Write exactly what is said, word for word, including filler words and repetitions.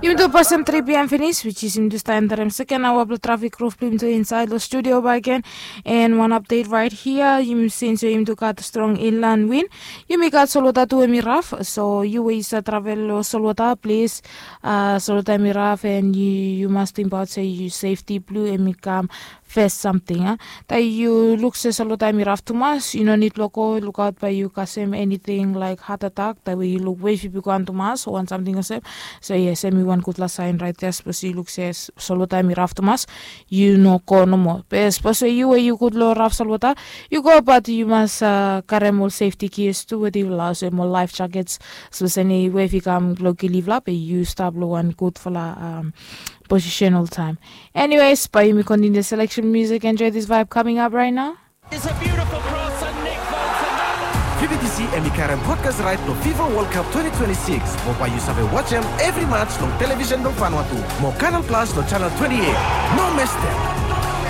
Yumi tu pasim tri pm finis, which is yumi tu stap enterim seken aoa blong trafik ruf blong yumi tu insaed long studio bakegen. And wan update right here, yumi since yumi tu gat strong inland wind, yumi gat solwota tu em i raf. So yu we yu save travel long solwota, plis, uh, solwota em i raf, and yu, yu mas tingbaot se yu safety blong yu em i kam fes samting, a. Taem yu luk se solwota em i raf tumas, yu no nid blong go lukaot bae yu kasem eniting laek hat atak taem we yu luk wef i bigwan tumas o wan samting olsem. So yes, em i wan gudfala saen raet ya. Sapos yu luk se solwota em i raf tumas, yu no go nomo. Be sapos we yu we yu gud long raf solwota, yu go, bat yu mas, uh, karem ol safety gears tu wetem yufala, olsem ol life jackets. Sapos eni wef i kam blong kil yufala, be yu stap long wan gudfala, um, posisen oltaem. Anyways, bae yumi kontiniu selection music. Enjoy this vibe coming up right now. It's a beautiful cross and Nick Bolton. Fi bi disi em i karem broadcast right long FIFA World Cup twenty twenty-six. Mo bae yu save wajem evri match long television blong Vanuatu. Mo Canal Plus long channel twenty-eight. No mes dem.